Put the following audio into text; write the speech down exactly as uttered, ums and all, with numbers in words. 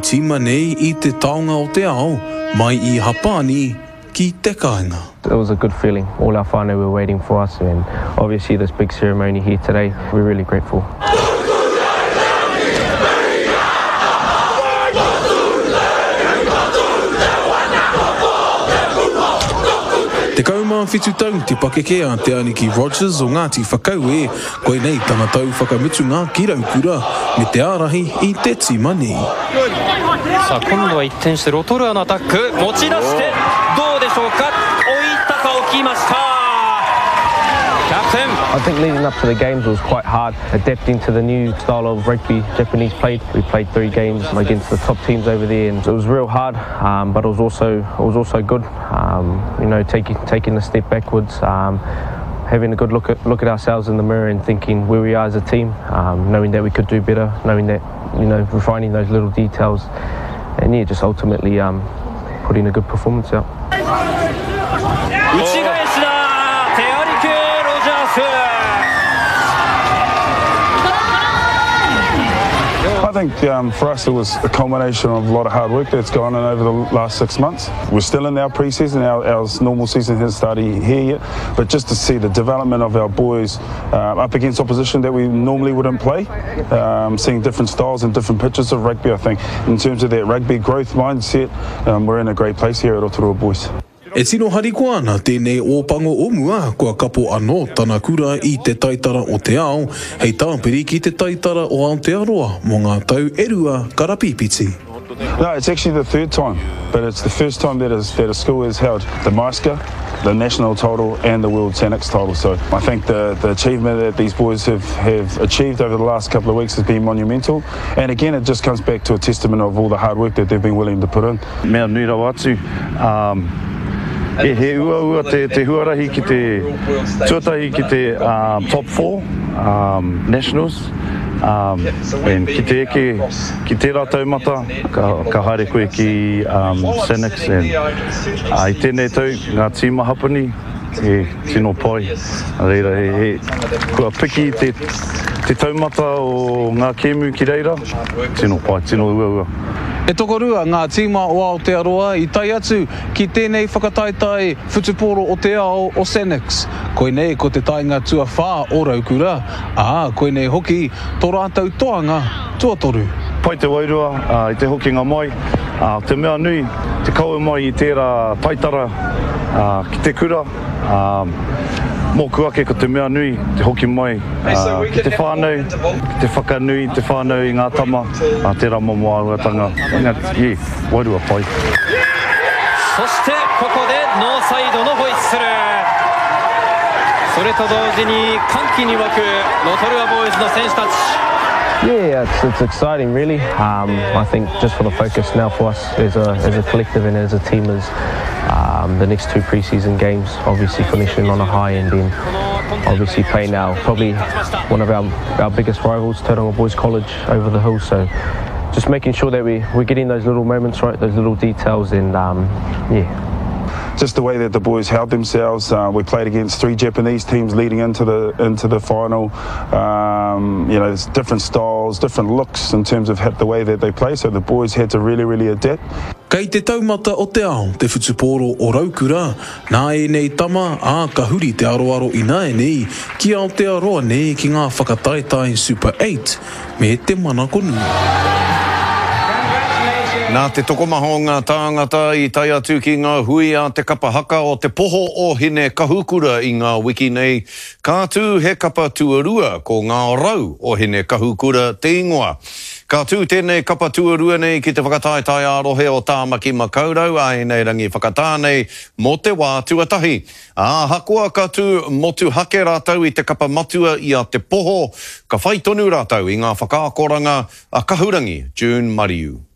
tīma nei i te taonga o te ao, mai i Hapani ki te kāinga. It was a good feeling. All our whānau were waiting for us, and obviously this big ceremony here today, we're really grateful. Tekau mā whitu tau te pakeke a Te Aniki Rogers o Ngāti Whakaue, koinei tana tau whakamutunga ki Raukura me te ārahi i te tīma nei. さあ今度は一転してロトルアのアタック持ち出してどうでしょうか置いたか置きましたキャプテン I think leading up to the games was quite hard, adapting to the new style of rugby Japanese played. We played three games against the top teams over there, and it was real hard, um, but it was also it was also good. Um, you know, taking taking a step backwards, um, having a good look at look at ourselves in the mirror and thinking where we are as a team, um, knowing that we could do better, knowing that you know refining those little details, and yeah, just ultimately um, putting a good performance out. 内返しだテアリク・ロジャース I think um, for us it was a culmination of a lot of hard work that's gone in over the last six months. We're still in our pre-season, our, our normal season hasn't started here yet, but just to see the development of our boys uh, up against opposition that we normally wouldn't play, um, seeing different styles and different pitches of rugby, I think in terms of that rugby growth mindset, um, we're in a great place here at Rotorua Boys. E tino harikoa ana tēnei ōpango o mua, kua kapo anō tana kura i te taitara o te ao, hei tāpiri ki te taitara o Aotearoa mō ngā tau e rua karapīpiti. No, it's actually the third time, but it's the first time that, is, that a school has held the MISCA, the national title and the World Sanix title. So I think the, the achievement that these boys have, have achieved over the last couple of weeks has been monumental. And again, it just comes back to a testament of all the hard work that they've been willing to put in. Mea nui rawa atu, um, e he uaua te, te huarahi ki te tuatahi ki te um, top four um, nationals, um, and ki te eke ki tērā taumata, ka, ka haere koe ki um, Sanix and uh, i tēnei tau ngā tīma Hapani he tino pai. Reira, he, he, kua piki te, te taumata o ngā kēmu ki reira, tino pai, tino uaua. E tokorua ngā tīma o Aotearoa i tae atu ki tēnei whakataetae whutupōro o te ao o Sanix. Koinei ko te taenga tuawhā o Raukura, ā, koinei hoki tō rātou toanga tuatoru. Pai te wairua uh, i te hokinga mai, uh, te mea nui, te kawe mai i tērā taitara uh, ki te kura, um, mōku ake ko te mea nui, te hoki mai uh, ki te whānau, ki te whakanui te whānau i ngā tama, uh, tērā momo āhuatanga, engari, yeah, wairua pai. そしてここでノーサイドのホイッスルそれと同時に歓喜に沸くロトルアボーイズの選手たち Yeah, it's, it's exciting, really. Um, I think just for the focus now for us as a, as a collective and as a team is um, the next two pre-season games, obviously finishing on a high and then obviously playing now probably one of our, our biggest rivals, Tauranga Boys College, over the hill. So just making sure that we, we're getting those little moments right, those little details, and um, yeah, Just the way that the boys held themselves. Uh, we played against three Japanese teams leading into the into the final. Um, you know, there's different styles, different looks in terms of the way that they play. So the boys had to really, really adapt. Kei te taumata o te ao, te whutupōro o Raukura, nā ēnei tama, ā, ka huri te aroaro ināianei, ki Aotearoa nei ki ngā whakataetae Super Eight me te manako nui. Nā te tokomaha o ngā tāngata i tae atu ki ngā hui a te kapa haka o te poho o Hine Kahukura i ngā wiki nei, ka tū he kapa tuarua ko ngā rau o Hine Kahukura te ingoa. Ka tū tēnei kapa tuarua nei ki te whakataetae ā-rohe o Tāmaki Makaurau a ēnei rangi whakatā nei mō te wā tuatahi. Ā, ahakoa ka tū motuhake rātou i te kapa matua i a Te Poho, ka whai tonu rātou i ngā whakaakoranga a Kahurangi, June Mariu.